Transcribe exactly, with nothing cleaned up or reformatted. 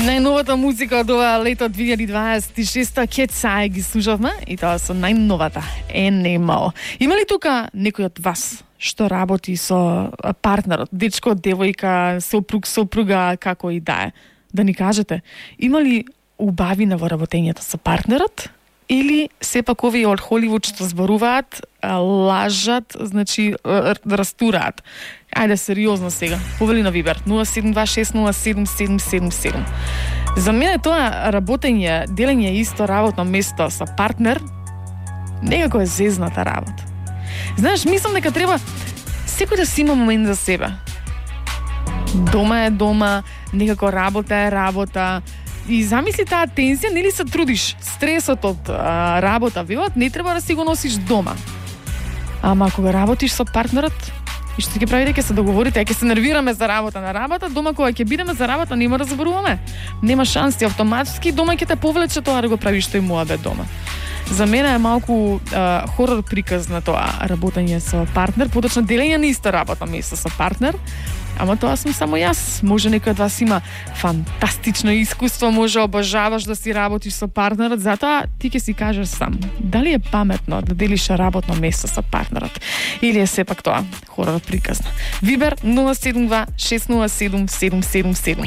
Најновата музика од ова лето две илјади дваесет и шеста Кетсај ги слушавме и тоа со најновата Animal. Има ли тука некој од вас што работи со партнерот, дечко, девојка, сопруг, сопруга, како и да е? Да ни кажете, има ли убавина во работењето со партнерот? Или сепак овие од Холивуд што зборуваат, лажат, значи растураат? Ајде сериозно сега. Повели на Вибер нула седум два шест нула седум седум седум седум. За мене тоа работење, делење исто работно место со партнер некако е зезната работа. Знаеш, мислам дека треба секој да си има момент за себе. Дома е дома, некако работа е работа. И замисли таа тензија, нели се трудиш, стресот од а, работа, велат, не треба да си го носиш дома. Ама кога работиш со партнерот, и што ќе прави дека се договорите, ќе се нервираме за работа на работа, дома кога ќе бидеме за работа нема да зборуваме. Нема шанси, автоматски дома ќе те повлече тоа да го правиш тој муабет дома. За мене е малку а, хорор приказ на тоа работење со партнер, поточно делење на исто работно место со партнер. Ама тоа сум само јас. Може некој од вас има фантастично искуство, може обожаваш да си работиш со партнерот, затоа ти ќе си кажеш сам, дали е паметно да делиш работно место со партнерот или е сепак тоа хорор приказна. Вибер нула седум два шест нула седум седум седум седум.